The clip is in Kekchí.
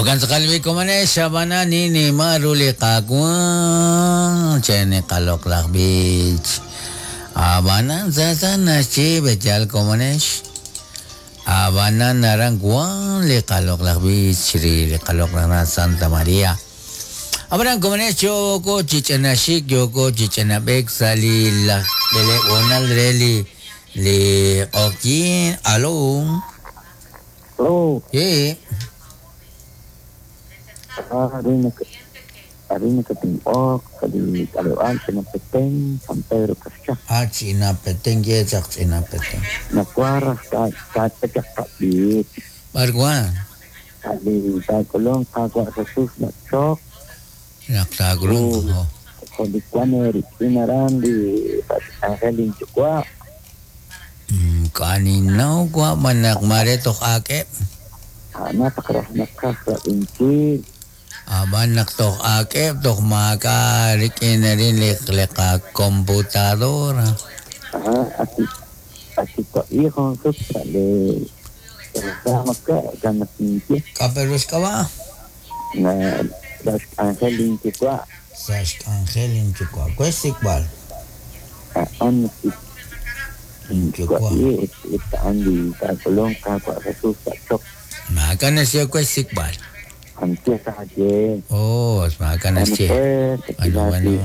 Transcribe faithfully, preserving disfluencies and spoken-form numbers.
Okan tz'aqal bi komanex abana nini maru li qaawa' cheni qaloqlaj b'ich. Abanan sa naxchi b'echal komanex. Abanan naran wan li qaloqlaj b'ich ri li qaloqlaj Santa María. Abanan komanex yoko chich'anaxik yoko chich'anab'ek sa' li laj b'eleb' re li li q'oqyin. Alo. Alo. Yeah. Arina Katinok, Kali Kalewan, Chinapetén, San Pedro Caxcha. Ah, Chinapetén, yechaq Chinapetén. Nacuarra, Tatachaqabit. Barguan. Kali Tacolón, Cagua Jesús, Nachok. Naktacolón, oh. Jolicuane, Inarandi, Ángel Inchucua. Kaninaw, kwa, manak maretok akep. Napakrah nakasra inchil. Aban naktok akep tok maka rin li computadora. Ajá, así así to hijo le maka ganatinche. Kaperos ka ba? Na das Ángel Inchukwa. Sas Ángel Inchukwa. Kwestikbal. An Inchukwa. Andi takolong ka Jesus chok. Maka na siya kwestikbal. Antes ayer. Oh, maka na siya. Ano ano.